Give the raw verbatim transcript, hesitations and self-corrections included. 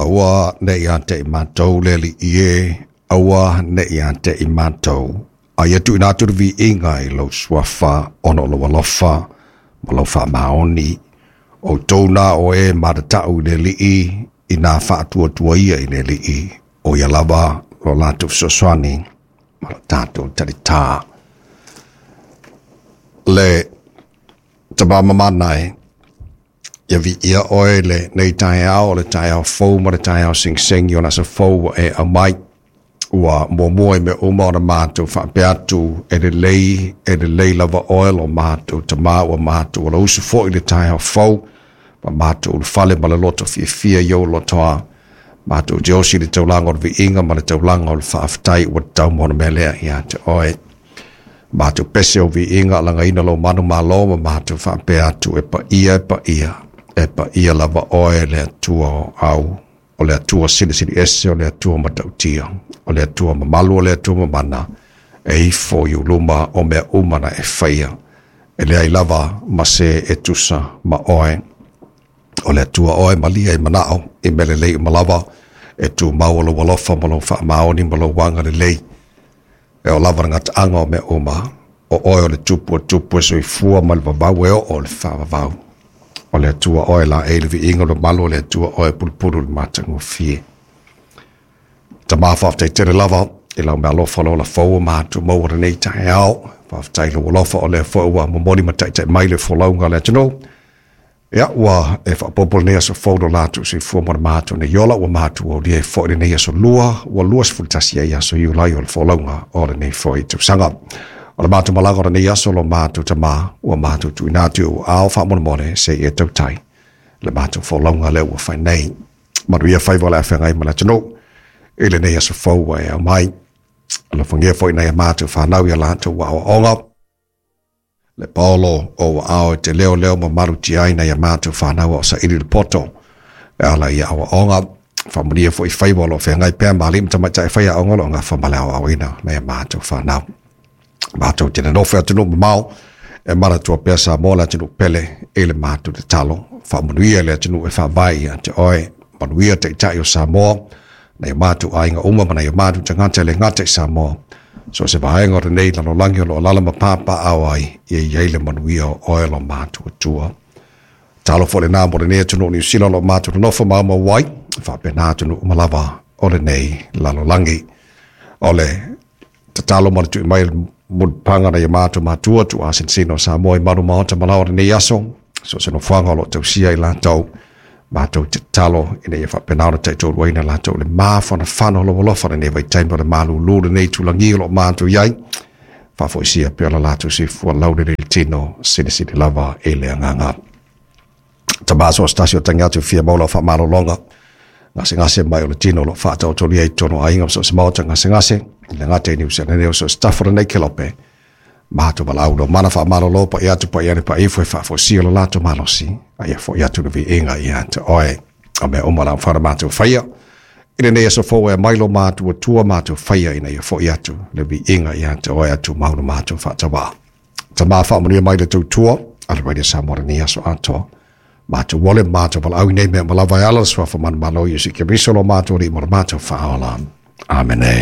Aua ne ia te i mātou le li ie, aua ne ia te i mātou. Aia tu ina atu vi inga i lau suafa, ono lo alofa, ma lau wha maoni. O tōna o e maratau i le lii, i nā whaatua tua ia i le lii. O ia lava lo lātou fesoasoani, ma lo tātou taritā. Le tamamamana e, ia vi ia oe le nei taeao, o le taeao fou ma le taeao sigisigī o le aso fou ua e aumai. Ua muamua i mea uma ona matou faapea atu e lelei, e lelei lava oe lo matou tamā ua matou alausu foi le taeao fou, ma matou ulufale ma le loto fiafia i ou lotoa. Matou te osi i le taulaga o le viiga ma le taulaga o le faafetai ua tatau mo le mea lea ia te oe. Matou pese o viiga alagaina lou manumalo ma matou faapea atu e paia e paia, e paia lava oe le Atua o au, o le Atua silisili ese, o le Atua matautia, o le Atua mamalu, o le Atua mamana, e ifo i uluma o mea uma na e faia, e leai lava ma se e tusa ma oe. O le Atua oe malia i manao, i mea lelei uma lava, e tumau o lou alofa ma lou faamaoni ma lou agalelei. E o lava le gataaga o mea uma, o oe o le tupu o tupu e soifua ma le vavau e oo le faavavau. O le Atua oe la e le viiga o le mamalu o le Atua oe pulupulu le matagofie. Tamā faafetai tele lava i lau meaalofa le ola fou ua matou maua lenei taeao. Faafetai i lou alofa o lea foi ua momoli ma taitai mai le folauga a le atunuu. Ia, ua e faaopoopo lenei aso fou lo latou soifua ma le matou nei ola, ua matou aulia ai foi lenei aso lua, ua luasefulu tasi ai aso Iulai o le folauga o lenei foi tausaga. O le matou malaga o lenei aso lo matou tamā, ua matou tuuina atu i ou aao faamolemole se i e tautai le matou folauga lea ua fai nei. Manuia faiva o le afeagai ma le atunuu i lenei aso fou ua e aumai. Alofagia foi nai a matou fanau i a latou aoaoga. Le paolo o ua ao e te leo leo ma malutia ai nai a matou fanau o saili le poto e ala i aoaoga. Faamanuia foi faiva o lo o feagai pea ma alii ma tamaitai faiaoga o lo o gafa ma le aoaoina nai a matou fanau. Matou te nonofo i atunuu mamao e manatua pea Samoa le atunuu pele i le matou tatalo. Faamanuia le atunuu e faavae ia te oe. Manuia taitai o Samoa, nai o matou aiga uma ma nai o matou tagata e le gata i Samoa. So se vaega o lenei lalolagi o lo o alaala ma papaaao ai, ia i ai le manuia o oe lo matou Atua. Talo foi lenā mo lenei atunuu o Niu Sila o lo o matou nonofo maumau ai, faapena atunuu uma lava o lenei lalolagi. O le tatalo ma le tui mai mulipapaga nai o matou matua tuuasenesene o Samoa i malu maota ma laoa o lenei aso, so o se nofoaga o lo o tausia i latou, matou te tatalo ina ia faapena ona taitoaluaina latou i le mafanafana o lou alofa lenei vaitaimi o le malūlū lenei itulagi o lo o matou i ai, faafoisia pea lo latou soifua laulelei le tino silisili lava i le agaga. Tamā so o se tasi o tagi atu e fia maua lau faamalologa, gasegase mai o le tino o lo o faataotolia i totonu o aiga ma so o se maota gasegase, i le gata i Niu Selani o so o se tafa o lenei kelope, matou valaau lo mana faamalolo paia atu paia ane paia ifo e faafoisia lo latou malosi, a ia fo'i atu le viiga ia te oe. O mea uma la mafai ona matou faia i lenei aso fou e aumai lo matou Atua matou faia ina ia fo'i atu le viiga ia te oe atu mau lo matou faatauā. Tamā faamanuia mai le tautua a le Radio Samoa lenei aso atoa. Matou ole matou valaau i nei mea uma lava e ala i le suafa manumalo o Iesu Keriso lo matou Alii ma lo matou Faaola. Amene.